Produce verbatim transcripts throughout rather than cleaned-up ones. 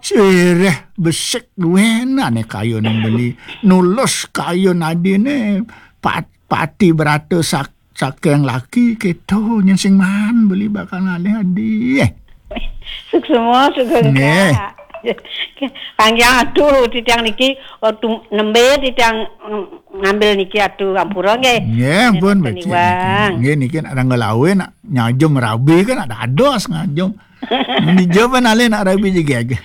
Cireh besik duenané kayuné beli. Nulus kayun adiné pat-, pati berata sak-, saking laki kéto nyén sing maan beli bakal ngalih adi. Suksma, suksma. Nggih. Kak. Panjang atuh titiang niki, waktu nembé titiang, mm, ngambil niki atuh ampura nggih. Nggih, ampun, becik niki. Nggih, niki nak tanggal awé nak nyajum rabi kan nak dados ngajum. Mun dija pan alih nak rabi jegég.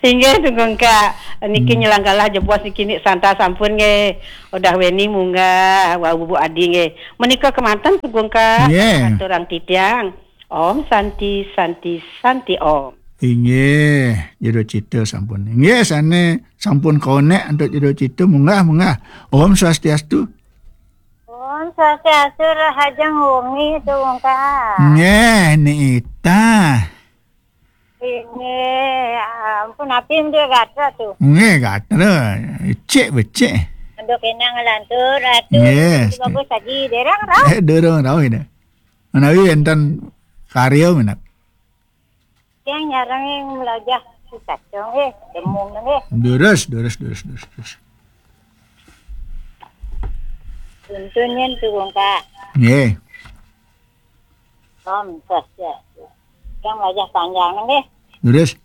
Inggih, Tugung Kak. Niki nyelanggalah jebos niki nik santa sampun nggih. Udah weni munggah, wau bubuk adi nggih. Menika kemanten, Tugung Kak. Nggih. Aturang titiang. Om Santi, Santi, Santi Om. Inggih, jero cita sampun. Inggih, sané sampun konek antuk jero cita, munggah, munggah. Om Swastiastu. Om Swastiastu, rahajeng wengi, Tugung Kak. Nggih, Ni Ita. Ini, ampun, api dia gatra tuh. Nggih, gatra. Becik, becik. Aduh, kena ngelantur, atuh. Nggih. Bagus lagi, derang rauh. Eh, derang rauh ini. Menawi enten karya minat. Yang nyarang yang melajah si kacang, eh, demung, eh. Durus, durus, durus, durus, durus. Tuntunnya tuh, Kak. Nggih. Om Swastiastu. Yang wajah panjang nggih. Leres.